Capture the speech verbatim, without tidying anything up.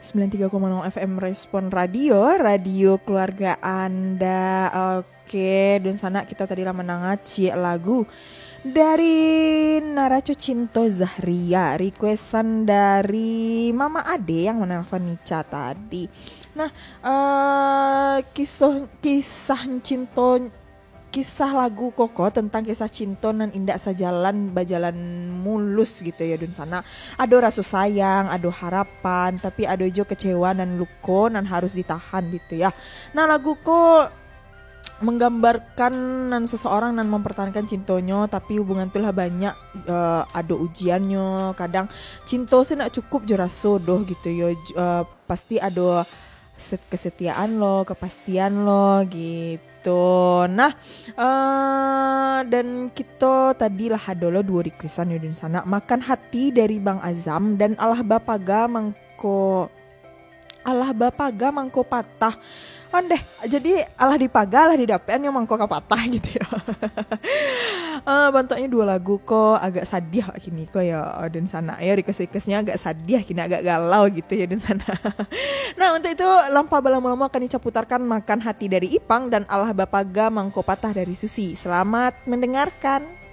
sembilan tiga koma nol F M Respon Radio, radio keluarga Anda. Oke, dunsanak, kita tadi lah mandanga ciek lagu dari Naraco Cinto Zahria, requestan dari Mama Ade yang menelpon Nica tadi. Nah, eh, kisah, kisah cinto, kisah lagu koko tentang kisah cinto nan indak sajalan, bajalan mulus gitu ya, dunsanak. Ado raso sayang, ado harapan, tapi ado jo kecewa nan luko nan harus ditahan gitu ya. Nah, lagu ko menggambarkan nan seseorang nan mempertahankan cintonyo, tapi hubungan tu lah banyak, eh, ado ujiannyo. Kadang cinto se nak cukup jo raso doh gitu yo. J-, eh, pasti ado set-, kesetiaan lo, kepastian lo gitu. Nah, eh, dan kito tadi lah ado lo duo requestan yo, dunsanak. Makan Hati dari Bang Azam dan Alah Bapaga Mangko, Alah Bapaga Mangko Patah. Ondeh, jadi alah dipaga, alah didapek, nyo mangko ka patah gitu ya. Eh, bantuaknyo duo lagu ko agak sadiah kini ko ya, dunsanak ya. Request-requestnyo agak sadiah kini, agak galau gitu ya, dunsanak. Nah, untuk itu, tanpa balamo-lamo akan Ica putarkan Makan Hati dari Ipang dan Alah Bapaga Mangko Patah dari Susi. Selamat mendengarkan.